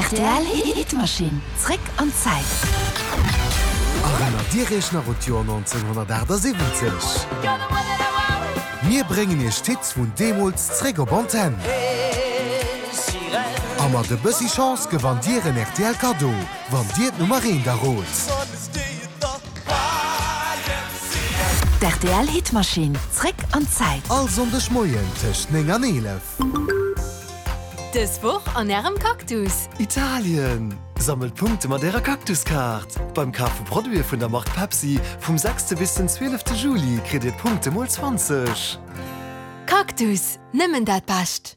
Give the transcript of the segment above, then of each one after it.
Rtl Hitmaschinn, zréck an d'Zäit. Erënnert Dir Iech nach un d'Joer 1978? Mir bréngen Iech d'Hits vun deemools zréck op Antenn. A mat e bëssi Chance gewannt Dir en rtl Kaddo, wann Dir d'Nummer eent errot. D'RTL Hitmaschinn, zréck an d'Zäit. All Sonndeg Moien tëscht 9 an 11. Dës Woch an Ärem Cactus! Italien! Sammelt Punkte mat Ärer Cactus-Kaart! Beim Kaf vu Produite vun der Mark Pepsi vum sechste bis den zwielefte Juli kritt Dir d'Punkte mol 20. Cactus, nëmmen dat Bescht!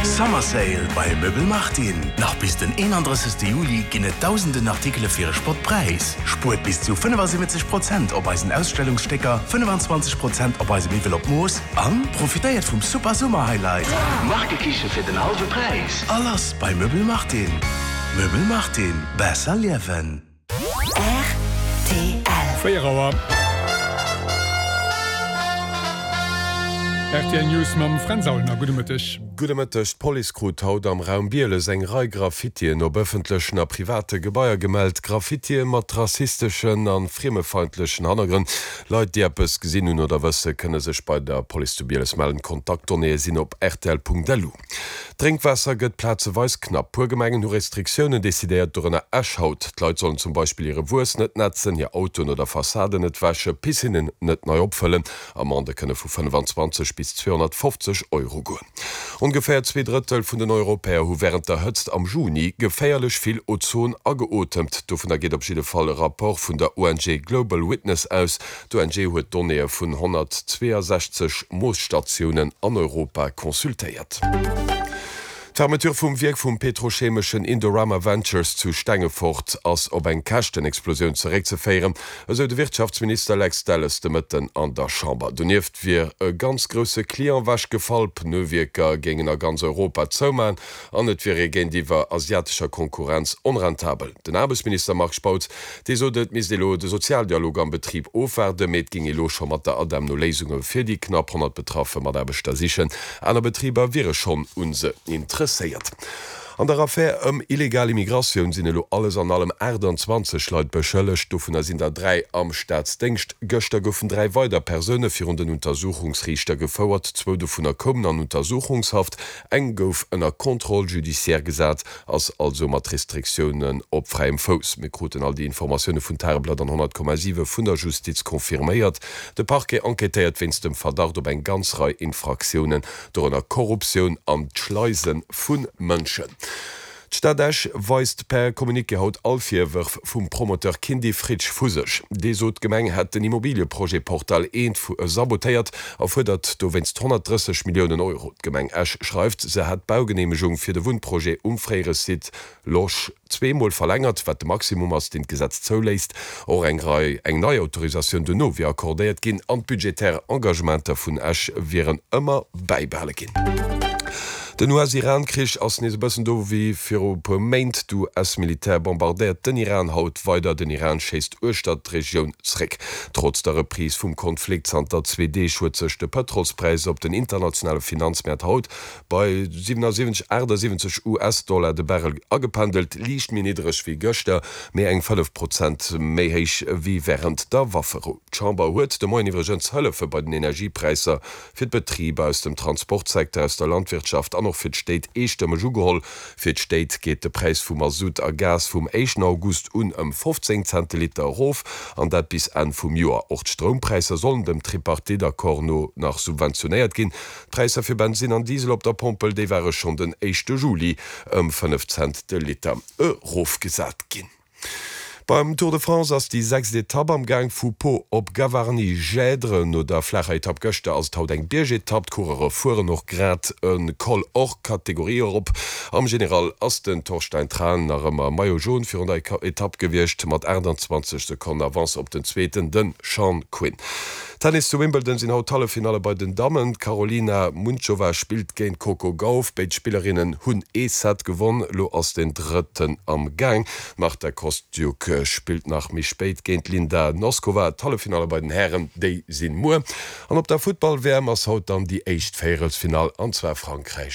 Summer Sale bei Möbel Martin! Nach bis den 31. Juli ginn et dausenden Artikele fir e Spottpräis. Spuert bis zu 75 Prozent op eisen Ausstellungsstécker, 25 Prozent op eise Miwwel op Mooss an profitéiert vum super Summer Highlight, Markekiche fir den hallwe Präis! A lass bei Möbel Martin! Möbel Martin, besser liewen! Rtl. 4 Auer. Rtl News mam Fränz Aulner. Gudde Mëtteg. Gudde Mëtteg. D'Police krut haut am Raum Bieles eng Rei Graffitien op ëffentlechen a private Gebaier gemellt. Graffitie mat rassisteschen a friemefeindlechen Hannergrënn. Leit, déi eppes gesinn hunn oder wësse, kënne sech bei der Police zu Bieles mellen. D'Kontaktdonnéeë sinn op rtl.lu. D'Drénkwaasser gëtt plazeweis knapp. Puer Gemengen hu Restriktiounen decidéiert, dorënner Esch haut. D'Leit sollen zum Beispill hire Wuess net nätzen, hir Autoen oder Fassaden net wäschen, Piscinnen net nei opfëllen. Amendë kënne vu 25 bis 250 Euro goen. Ongeféier 2 Drëttel vun den Europäer hu wärend der Hëtzt am Juni geféierlech vill Ozon ageotemt. Dovunner geet op jidde Fall e Rapport vun der ONG Global Witness aus. D'ONG huet d'Donnéeë vun 162 Moosstatiounen an Europa consultéiert. D'Fermeture vum Wierk vum petrochemeschen Indorama Ventures zu Stengefort ass op eng Käschtenexplosioun zeréckzeféieren, esou de Wirtschaftsminister Lex Delles de Mëtten an der Chamber. Donieft wier e ganz grousse Client ewechgefall, Pneuwierker géingen a ganz Europa zoumachen an et wier ee géintiwwer asiatescher Konkurrenz onrentabel. Den Aarbechtsminister Marc Spautz, dee sot, et misst ee lo de Sozialdialog am Betrib ofwaarden, mee et géing ee lo scho mat der ADEM no Léisunge fir déi knapp 100 betraffe Mataarbechter sichen. Aner Betriber wiere schonn u se interesséiert. An der Affär ëm illegal Immigratioun sinn elo alles an allem 28 Leit beschëllegt, dovunner sinn der 3 am Staatsdéngscht. Gëschter goufen 3 weider Persoune virun den Untersuchungsriichter gefouert, zwou dovunner koumen an Untersuchungshaft, Eng gouf ënner Contrôle judiciaire gesat, ass also mat Restriktiounen op fräiem Fouss. Mir kruten all déi Informatioune vun Tageblatt an 100,7 vun der Justiz confirméiert. De Parquet enquêtéiert wéinst dem Verdacht op eng ganz Rei Infraktiounen, dorënner Korruptioun an d'Schleise vu Mënschen. D'Stad Esch weist per Communiqué haut all Virwërf vum Promoteur Kindy Fritsch vu sech. Dee sot, d'Gemeng hätt den Immobilieprojet Portal I sabotéiert a fuerdert dowéinst 130 Milliounen Euro. D'Gemeng Esch schreift, se hätt d'Baugeneemegung fir de Wunnprojet um fréiere Site Losch zweemol verlängert, wat de Maximum ass, deen d'Gesetz zouléisst. Och eng Rei eng nei Autorisatioun dono wier accordéiert ginn an d'budgetär Engagementer vun Esch wieren ëmmer bäibehale ginn. Den US-Iran-Krich ass nees e bëssen do wéi viru e puer Méint. D'US-Militär bombardéiert den Iran haut weider. Den Iran schéisst uechter d'Regioun zréck. Trotz der Reprise vum Konflikt zanter zwee Deeg huet sech de Pëtrolspräis op den internationale Finanzmäert haut bei 77, 78 US-Dollar de Barrel agependelt, liicht méi niddereg wéi gëschter, mee eng 5 Prozent méi héich wéi wärend der Wafferou. D'Chamber huet de Moien iwwregens Hëllefe bei den Energiepräisser fir d'Betriber aus dem Transportsecteur, aus der Landwirtschaft an och fir d'Stéit eestëmmeg ugeholl. Fir d'Stéit geet de Präis vu Masutt a Gas vum éischten August un ëm 15 Cent de Liter erof, an dat bis Enn vum Joer. Och d'Stroumpräisser sollen dem Tripartite-Accord no nach subventionéiert ginn. D'Präisser fir Bensinn an Diesel op der Pompel, déi ware schonn den éischte Juli ëm 5 Cent de Liter erofgesat ginn. Beim Tour de France ass déi sechst Etapp am Gaang, vu Pau op Gavarnie-Gèdre. No der flaacher Etapp gëschter ass et haut eng Biergetapp. D'Coureure fueren och grad e Col hors catégorie erop. Am General ass den Torstein Thrane nach ëmmer Maillot Jaune virun der Etapp gewiescht, mat 28 Sekonnen Avance op den Zweeten, de Sean Quinn. Tennis, Zu Wimbledon sinn haut d'Halleffinalle bei den Dammen. D'Karolina Muchova spillt géint d'Coco Gauff. Béid Spillerinnen hunn ee Set gewonn, elo ass den drëtten am Gaang. D'Marta Kostyuk spillt nach méi spéit géint d'Linda Noskova. D'Halleffinalle bei den Hären, déi sinn muer. An op der Futtball-WM ass haut dann déi éischt Véierelsfinall, an zwar Frankräich.